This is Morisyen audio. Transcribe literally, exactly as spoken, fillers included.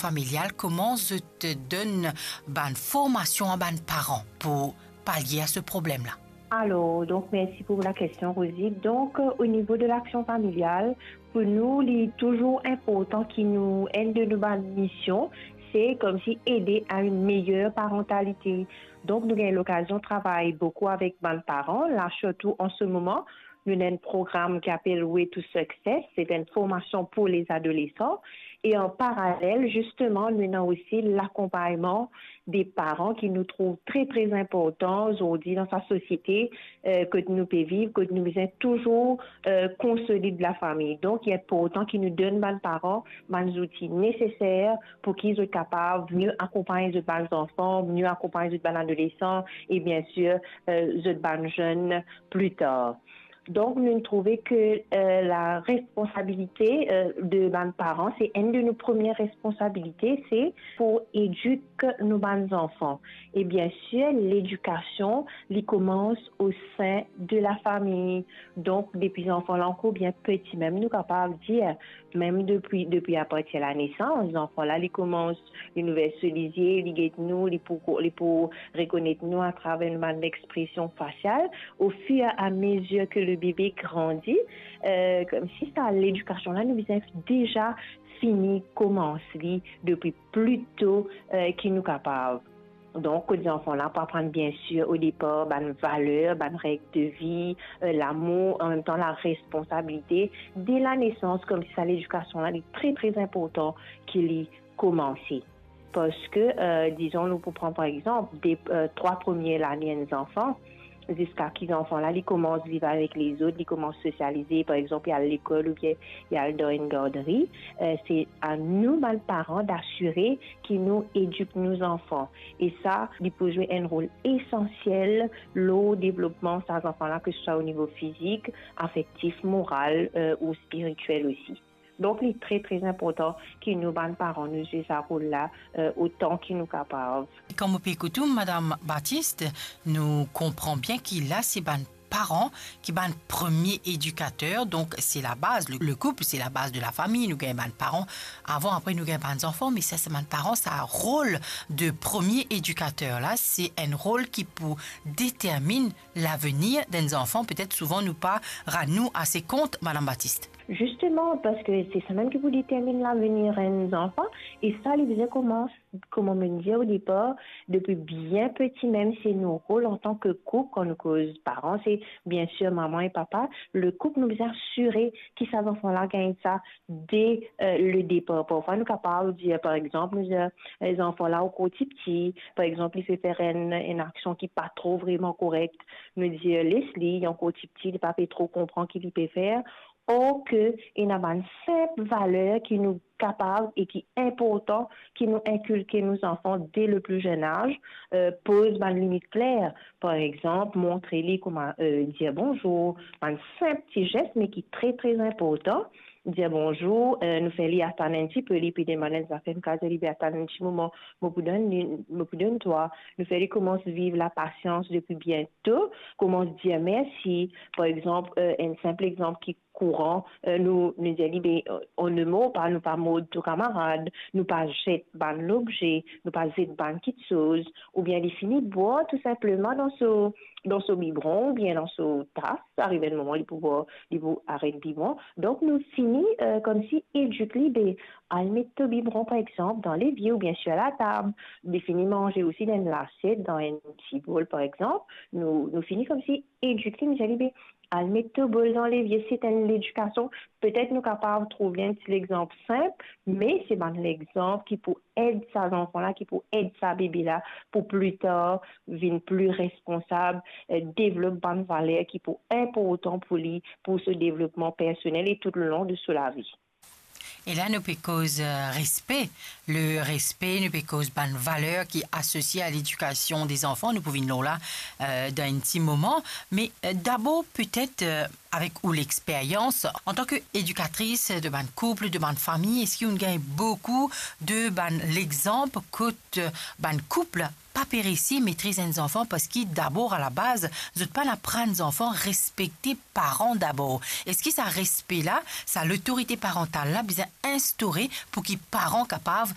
familial, kouma zot donn bann formasion a bann paran pou palie a se problem la? Alors, donc, merci pour la question, Rosie. Donc, euh, au niveau de l'action familiale, pour nous, il est toujours important que nous, une de nos bonnes missions, c'est comme si aider à une meilleure parentalité. Donc, nous avons l'occasion de travailler beaucoup avec nos parents. Là, surtout en ce moment, nous avons un programme qui s'appelle Way to Success. C'est une formation pour les adolescents. Et en parallèle, justement, nous avons aussi l'accompagnement des parents qui nous trouvent très, très importants aujourd'hui dans sa société, euh, que nous pouvons vivre, que nous devons toujours, euh, consolider la famille. Donc, il est important qu'ils nous donnent, nos parents, les outils nécessaires pour qu'ils soient capables de mieux accompagner leurs enfants, mieux accompagner leurs adolescents et bien sûr, euh, leurs jeunes plus tard. Donc, nous trouvons que, euh, la responsabilité, euh, de nos parents, c'est une de nos premières responsabilités, c'est pour éduquer nos enfants. Et bien sûr, l'éducation, elle commence au sein de la famille. Donc, depuis enfant là encore, bien petit même, nous capables dire, même depuis, depuis à partir de la naissance, l'enfant là, il commence, il nous verse les yeux, il guette nous, il peut, il peut reconnaître nous à travers une expression faciale. Au fur et à mesure que le bébé grandit, euh, comme si ça, l'éducation là, nous avons déjà fini, commence li depuis plus tôt, euh, que nous capables. Donc, kot zanfan la pou aprann, bien sûr, au départ, bann valer, bann règles de vie, euh, l'amour, en même temps la responsabilité, dès la naissance, comme si ça, l'éducation là, elle est très, très important qu'il y commence. Parce que, euh, disons, nous pouvons prendre par exemple des, euh, trois premières années d'un enfant, jusqu'à ce que l'enfant là, il commence à vivre avec les autres, il commence à socialiser, par exemple, il y a l'école ou bien il y a dans une garderie. Euh, c'est à nous, bann paran, d'assurer que nous éduquons nos enfants. Et ça, il peut jouer un rôle essentiel au développement de ces enfants-là, que ce soit au niveau physique, affectif, moral, euh, ou spirituel aussi. Donc, il est très, très important que nous, bann paran, nous jouions ce rôle-là, euh, autant que nous capables. Kan mo pe ekout ou, Madame Baptiste, nou konpran bien ki la, se bann paran ki bann premie edikater, donk se la baz, le, le koup, se la baz de la fami, nou gagn bann paran avan, apre nou gagn bann zanfan, me sa, se bann paran, sa rol de premie edikater la, se enn rol ki pou determinn lavenir d'enn zanfan, petet souvan nou pa rann nou ase kont, Madame Baptiste. Justement, parce que c'est ça même qui vous détermine l'avenir d'un enfant, et ça, il vient commencer, comme on me dit au départ, depuis bien petit, même c'est nos rôles en tant que couple, quand nous cause parents, c'est bien sûr maman et papa, le couple, nous devons assurer que ces enfants-là gagnent ça dès, euh, le départ. Parfois, nous capables de dire, par exemple, nous, euh, les enfants-là, au côté petit, par exemple, il fait faire une, une action qui n'est pas trop vraiment correcte, nous dire, laisse-le, il est encore petit, il ne peut pas trop comprendre ce qu'il peut faire. Or que, il y a une simple valeur qui nous capable et qui est important, qui nous inculque nos enfants dès le plus jeune âge, euh, pose une limite claire. Par exemple, montrer lui comment, euh, dire bonjour, un simple petit geste, mais qui est très, très important. Dir bonzour, euh, nou fer li atann enn tipe, li pe demann enn zafer, nou kapav dir li, be atann enn ti moman, mo pou donn li, mo pou donn twa. Nou fer li koumans viv lapasians depi bien to, koumans dir mersi. Par exanp, euh, enn sinp exanp ki kouran, euh, nou, nou dir li, be, euh, on ne mord pas, nou pa mord to kamarad, nou pa zet bann lobze, nou pa zet bann kiksoz, oubien li fini bwar tou sinpleman dan so, dan so bibron oubien dan so tas, ariv enn moman li pou bwar, li pou aret bibron. Donk nou fini, euh, koumsi edik li, be, al met to bibron, par exanp, dan levie oubien sir latab. Li fini manze osi dan enn lasiet, dan enn ti bol, par exanp. Nou, nou fini koumsi edik li, nou dir li, be, al met to bol dan levie. Se enn ledikasion. Petet nou kapav trouv enn ti lexanp sinp, me se bann lexanp ki pou ed sa zanfan la, ki pou ed sa bebe la, pou pli tar vinn pli responsab, eh, devlop bann valer ki pou inportan pou li, pou so devlopman personel e toulong de so lavi. E la, nou pe koz, euh, respe. Le respe, nou pe koz bann valer ki asosie a ledikasion de zanfan. Nou pou vinn lor la, euh, dan enn ti moman. Me, euh, dabor, petet, euh, avek ou lexperyans, antan ki edikatris de bann koup, de bann fami, eski ou'nn gagn boukou de bann lexanp kot, euh, bann koup pa pe resi metriz enn zanfan, parski dabor, alabaz, zot pa'nn aprann zanfan respekte paran dabor? Eski sa respe la, sa lotorite parantal la bizin instore pou ki paran kapav